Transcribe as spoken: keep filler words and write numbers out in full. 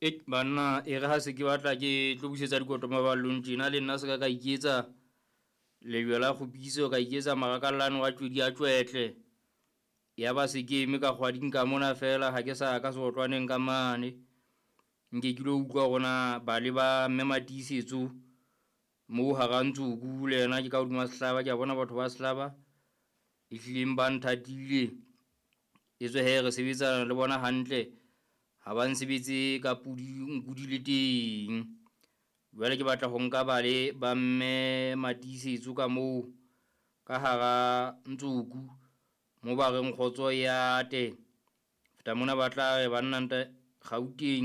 E banna e re ha se ke batla ke tlo busetsa dikoto maballong tjena le nna se ka ka iketsa lejwe la kgopiso, ka iketsa marakallane wa tjwedi a tjwetle. Ya ba se ke eme ka kgwading ka mona fela, ha ke sa ka seotlwaneng ka mane. Nke ke lo utlwa hore ba le ba mme Matiisetso moo hara Ntsoku le yena ke ka hodima sehlaba, ke a bona batho ba sehlaba e hlileng ba nthatile. Etswe he re sebetsana le bona hantle, ha ba nsebetse ka pudi nku di le teng. Jwale ke batla ho nka bale ba mme Matiisetso ka moo ka hara Ntsoku mo ba reng kgotso ya te. Feta mona ba tla re banna nta Gauteng.